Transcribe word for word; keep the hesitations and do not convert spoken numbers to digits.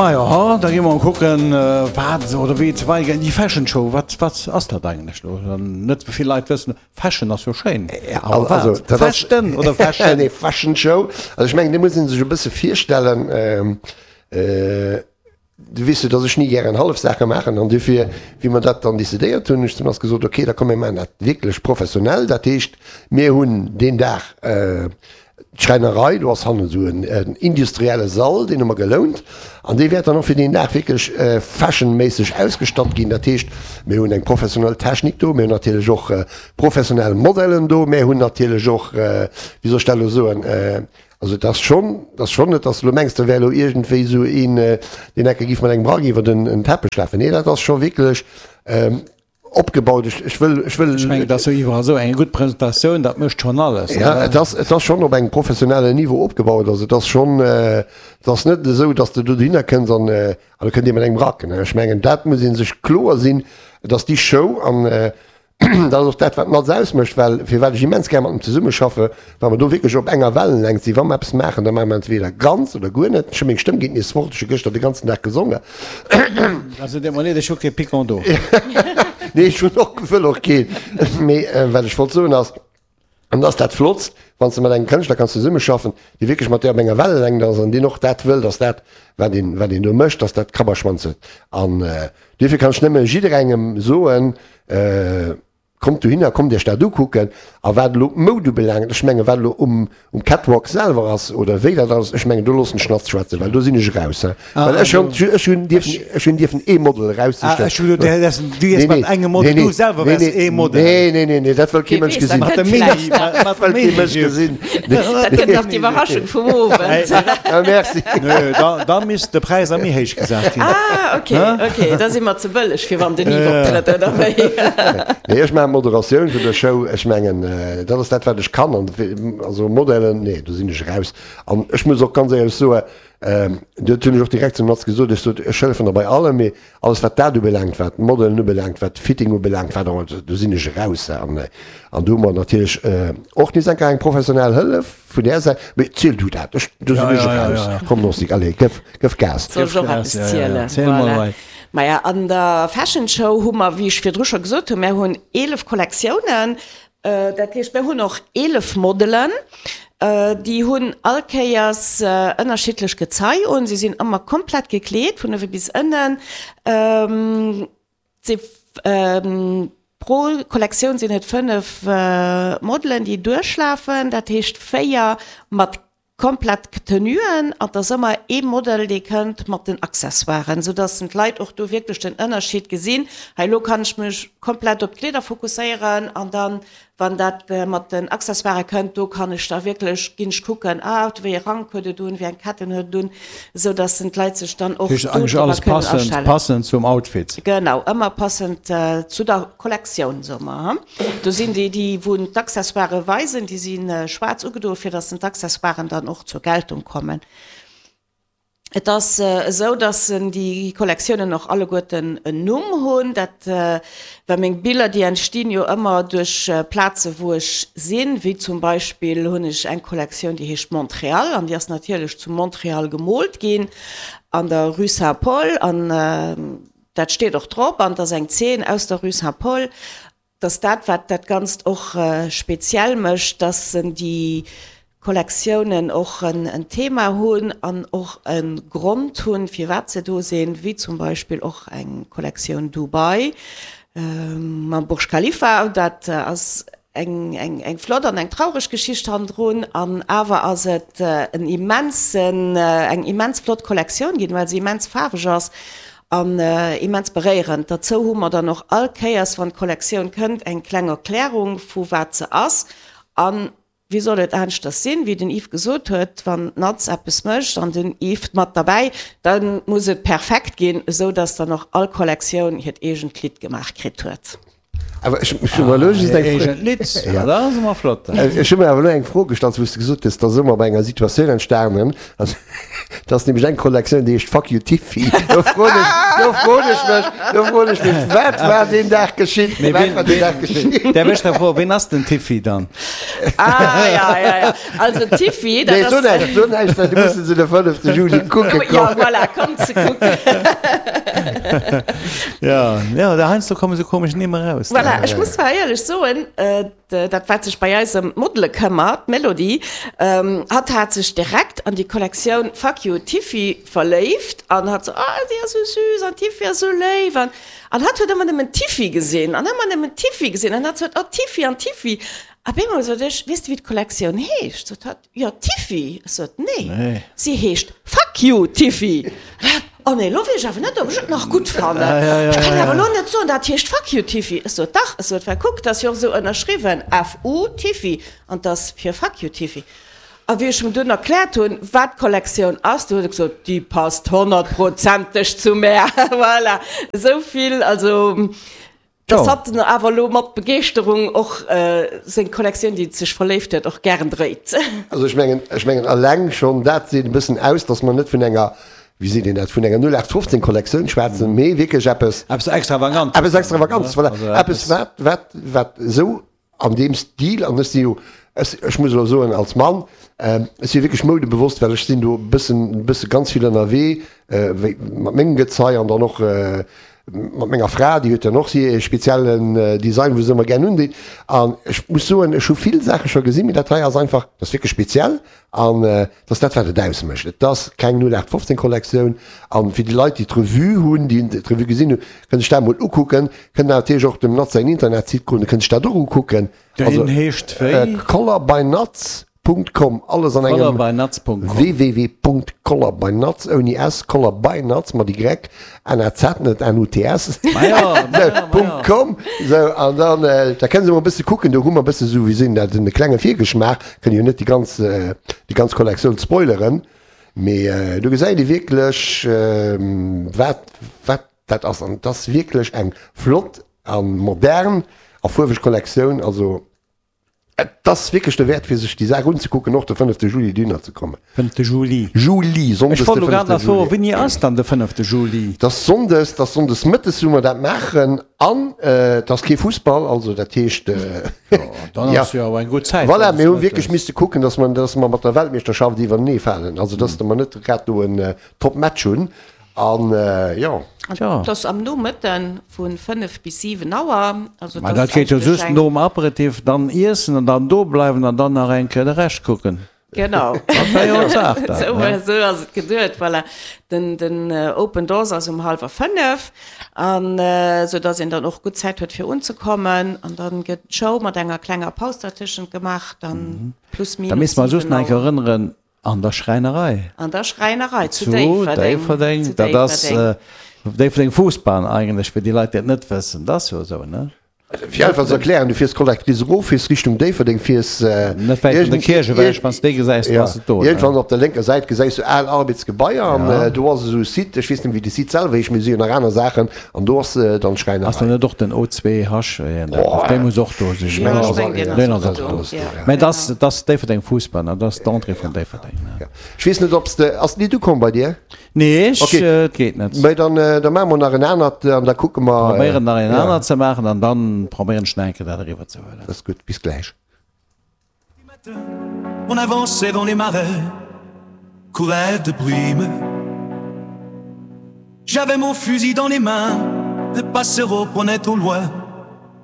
Majo, ha, da gi mer kucken, wat oder wéi et weidergeet. Déi Fashion Show, wat, wat ass dat eigentlech elo? Net vill Leit wëssen, Fashion ass jo schéin, awer wat? Also, dat ass- Fashion oder Fashion? Nee, Fashion Show. Also ech mengen, do muss ee sech e bësse virstellen, ähm, du weess jo, dass ech ni gären hallef Saache maachen an dofir, wéi mer dat dann decidéiert hunn, hunn ech zum Lars gesot, okay, da komm mir maachen dat wierklech professionell. Dat heescht, mir hunn deen Dag d'Schräinerei, do ass hannen esou en industrielle Sall, deen hu mer gelount an dee wäert dann och fir deen Dag wierklech fashionméisseg ausgestatt ginn. Dat heescht, mir hunn eng professionell Technik do, mir hunn natierlech och professionell Modellen do, mir hunn natierlech och, wéi soll ech dat elo soen, also et ass schonn, et ass schonn net, dass de elo mengs, do wär elo iergendwéi esou een, deen enke giff mat engem Rack iwwer den Teppech lafen. Nee, dat ass scho wierklech opgebaut. Ech, ech wëll, ech wëll. Ech mengen, et ass jo iwwerall esou, eng gutt Presentatioun, dat mécht schonn alles. Ja, et ass, et ass schonn op engem professionellen Niveau opgebaut. Also et ass schonn, et ass net esou, dass de do dohinner kënns an, an da kënnt ee mat engem Rack. Ech mengen, dat muss ee sech kloer sinn, dass déi Show an, Dat ass och dat, wat d'Natz ausmécht, well firwat ech immens gär mat em zesummeschaffe, well mer do wierklech op enger Wellenlängt sinn. Wa mer eppes maachen, da maache mer entweder ganz oder guer net. Ech hu meng Stëmm geet nees fort, ech hu gëschter de ganzen Dag gesongen. Also deet mer leed, ech hu kee Piquant do. Nee, ech hunn och, wëll och keen. Mee wat ech wollt soen ass, an dat ass dat Flottst, wann s de mat engem Kënschtler kanns zesummeschaffen, dee wierklech mat dir op enger Wellelängt ass an deen och dat wëll, dass dat, wat een, wat een do mécht, dass dat Kapp a Schwanz huet. An duerfir kann ech nëmme jidderengem soen, Kommt dohinner, kommt iech dat ukucken. A wat elo d'Moud ubelaangt, ech mengen, wat elo um, um Catwalk selwer ass oder wéi dat ass, ech mengen, do loossen ech Schnatz schwätzen, well do sinn ech eraus. Well ech hunn, ech hunn dierfen, ech hunn dierfen ee Model eraussichen. Ah, ech hunn geduet, du gees mat engem Model, du selwer wäers ee Model. Nee, nee, nee, nee, dat wëll kee Mënsch gesinn. Mat dem Mini, mat dem Mini. Wëll kee Mënsch gesinn. Dat gëtt nach d'Iwwerraschung vum Owend. Ah, merci. Nö, da, da misst de Präis a méi héich gesat ginn. Ah, ok, ok, da si mer ze bëlleg, fir wann den Yves optrëtt, oder wéi? Nee, ech maachen d'Moderatioun vun der Show. Ech mengen, dat ass dat, wat ech kann. An also Modelen, nee, do sinn ech eraus. An ech muss och ganz éierlech soen, dat hunn ech och direkt zum Mats gesot, ech sot, ech hëllefen der bei allem, mee alles, wat dat ubelaangt, wat d'Modelen ubelaangt, wat d'Fitting ubelaangt, wat och ëmmer, do sinn ech eraus. An, an do hu mer natierlech och nees eng Kéier eng professionell Hëllef vun där Säit. Mee ziel du dat, ech, do sinn ech eraus. Komm, Nostik, allez, gëff, gëff Gas. Soll ech och eppes zielen? Voilà. Maja, an der Fashion Show hu mer, wéi ech virdru scho gesot hunn, mär hunn eelef Kollektiounen. Dat heescht, mär hunn och eelef Modelen. Déi hunn all Kéiers ënnerschiddlech Gezei un. Si sinn ëmmer komplett gekleet, vun uewe bis ënnen. Si pro Kollektioun sinn et fënnef Modelen, déi duerchlafen. Dat heescht véier mat Komplett Tenuen an et ass ëmmer ee Model dee kënnt mat den Accessoiren, sou dass d'Leit och do wierklech den Ënnerscheed gesinn, hei elo kann ech mech komplett op d'Kleeder fokusséieren an dann wann dat mat den Accessoiren kënnt, do kann ech da wierklech, ginn ech kucken, ah wéi ee Rank huet et un, wéi eng Ketten huet et un, sou dass d'Leit sech dann och do drüber Heescht alles kënnen passend, astellen. passend zum Outfit. Genau, ëmmer passend zu der Kollektioun, soe mer. Do sinn déi, déi wou d'Accessoiren weisen, déi si schwaarz ugedoen, fir dass d'Accessoiren dann och zur Geltung kommen. Et ass esou, dass déi Kollektiounen och alleguerten en Numm hunn. Dat, well meng Biller, déi entstinn jo ëmmer duerch Plaze wou ech sinn, wéi zum Beispill hunn ech eng Kollektioun, déi heescht Montréal an déi ass natierlech zu Montréal gemoolt ginn an der Rue Saint-Paul an dat steet och drop an et ass eng Zeen aus der Rue Saint-Paul. Dass dat, wat dat Ganzt och speziell mécht, dass déi Kollektiounen och en Thema hunn an och e Grond hunn, firwat se do sinn, wéi zum Beispill och eng Kollektioun Dubai mam Burj Khalifa. Dat ass eng flott an eng traureg Geschicht hannendrun an awer ass et en immensen, eng immens flott Kollektioun ginn, well se immens faarweg ass An immens beréierend. Derzou hu mer dann och all Kéiers, wann d'Kollektioun kënnt, eng kleng Erklärung vu wat se ass. A wéi soll et aneschters sinn, wéi den Yves gesot huet, wann d'Natz eppes mécht an den Yves mat derbäi, da muss et perfekt ginn, esou datt dann och all Kollektioun hiert eegent Lidd gemaach kritt huet. Awer ech hu mer elo just eng Fro. Agent Litz, ja, dat ass ëmmer flott. Ech hu mer awer elo eng Fro gestallt, wou s de gesot hues, et ass ëmmer bei enger Situatioun entstanen. Also, et ass nämlech eng Kollektioun, déi heescht Fuck you Tiffy. Do froen ech, do froen ech mech, do froen ech mech, wat war deen Dag geschitt? Mee Wat wien, war deen Dag geschitt? Däerf ech da froen, wien ass den Tiffy dann? Ah, ja, ja, ja. Also Tiffy, dat Nee, so ass. näischt, so näischt, well du musse se de fënnefte Juli kucke Ja, kommen. voilà, kommt se kucken. Ja, ja, da heiansdo komme sou komesch Nimm eraus. Voilà, ech muss zwar éierlech soen, dat wat sech bei eis ëm d'Modele këmmert, d'Melody, hatt hat sech direkt an déi Kollektioun Fuck you Tiffy verléift an hat sou, ah si ass sou süß an d'Tiffy ass sou léif an an hatt huet ëmmer nëmmen d'Tiffy gesinn an ëmmer nëmmen d'Tiffy gesinn an hatt sot, oh Tiffy an Tiffy. A bemol sot ech, weess de wéi d'Kollektioun heescht? Sot hatt, jo Tiffy. Ech sot, nee, si heescht Fuck you Tiffy. An hatt, oh nee, lo weess ech awer net ob ech et nach gutt fannen. Ech kann awer lo net soen dat heescht Fuck you Tiffy. Ech sot, dach, ech sot, well kuck, 't ass jo och esou ënnerschriwwen, F U Tiffy, an 't ass fir Fuck you Tiffy. A wéi ech em dunn erkläert hunn, wat d'Kollektioun ass, du huet e gesot, déi passt honnertprozenteg zu mär. Voilà, esou vill also. Dass hatt awer elo mat Begeeschterung och seng Kollektioun, déi et sech verléift huet, och gären dréit. Also ech mengen, ech mengen eleng schonn dat seet e bëssen aus, dass mer net vun enger, wéi seet een dat, vun enger null aacht fofzéng Kollektioun schwätzen, mee wierklech eppes, Eppes Extravagantes. Eppes Extravagantes, voilà, eppes wat, wat, wat esou an deem Stil, an ech si jo, ech, ech muss elo soen als Mann, ech si wierklech moudebewosst, well ech sinn do e bëssen, e bësse ganz vill ënnerwee, wéi mat mengem Gezei an dann och mat menger Fra, déi huet dann och hir speziellen Design, wou se ëmmer gär undeet. An ech muss soen, ech hu vill Saache scho gesinn, mee dat hei ass einfach, dat ass wierklech speziell an dat ass dat, wat et ausmécht. Et ass keng null aacht fofzéng Kollektioun. A fir déi Leit, déi d'Revue hunn, déi d'Revue gesinn hunn, kënne sech dat emol ukucken, kënnen natierlech och dem Naz säin Internetsite goen, da kënne sech dat och ukucken. Deen heescht wéi? Color by Naz. Punkt com, alles an engem. Colorbynuts.com. www.colorbynuts, ouni s, colorbynuts mat y, N A Z, net N U T S, Punkt com. Sou, an dann, da kënne se mol e bësse kucken, do hu mer e bësse sou, wéi sinn dat, en klenge Virgeschmaach, kënne jo net déi ganz, déi ganz Kollektioun spoileren, mee do gesäit ee wierklech, wat, wat dat ass. An et ass wierklech eng flott a modern a fuerweg Kollektioun, also. Et ass wierklech derwäert fir sech déi Saach unzekucken, och de fënnefte Juli dohinner ze kommen. Fënnefte Juli. Juli, Ech Sonndes wollt de elo grad fënnefte nach froen, Juli. wéini ass dann de fënnefte Juli? Et ass Sonndes, et ass Sonndes mëttes wou mer dat maachen an et ass kee Fussball, also dat heescht, Jo, dann ja, ass jo awer eng gutt Zäit, voilà, Sonndes mir hu wierklech mëttes. misste kucken, dass mer, dass mer mat der Weltmeeschterschaft iwwernee falen, also dass mer net grad do en Top-Match hunn. An jo. An et ass am Nomëtte vu fënnef bis siwen Auer. Also Ma et dat ass geet jo eigentlech just eng. nom Aperitif, dann iessen an dann do bleiwen an dann nach eng Kéier de Rescht kucken. Genau. Dat war jo d'Saach dann, Esou ne? esou ass et geduet, voilà. Den, den Open Doors ass um hallwer fënnef, an esou dass een dann och gutt Zäit huet fir unzekommen. An dann gëtt d'Show mat enger klenger Paus dertëschent gemaach, dann plus Da minus misste mer just siwen nach eng Kéier Auer. erënneren, An der Schräinerei. An der Schräinerei zu Zu Déifferdeng. Déifferdeng. Zu Dat ass Déifferdeng. Déifferdeng Fuussbahn eigentlech, fir déi Leit, déi et net wëssen. Dat ass jo esou, ne? Fir einfach ze erklären, du fiers Collectrice erof, fiers Richtung Déifferdeng, fiers Net wäit vun der Kierch ewech, wann s de déi gesäis, du bass et do, ne? iergendwann op der lénker Säit gesäis du al Arbeitsgebaier an do ass esou e Site, ech weess net méi wéi de Site selwer heescht, mee si hunn nach aner Saachen an do ass dann Ass d'Schräinerei. do net och den O zwee H, dee muss och do sinn, Ech mengen, Jo, ech ass meng, deen deen ass ass och och do, do. jo, Mä et ass, genau. et ass Déifferdeng Fuussbahn, dat ass d'Entrée vun Déifferdeng, ne? Ja. Ech weess net, ob s de, ass d'Lidd ukomm bei dir? Nee, ech, Okay. et geet net. Mä dann, da maache mer nach en anert an da kucke mer. Probéieren nach een Ja. anert ze maachen an dann probéieren ech nach eng Kéier dat eriwwer ze huelen. Dat ass gutt. Bis gläich. On avançait dans les marais couverts de brume. J'avais mon fusil dans les mains, le passereau prenait au loin.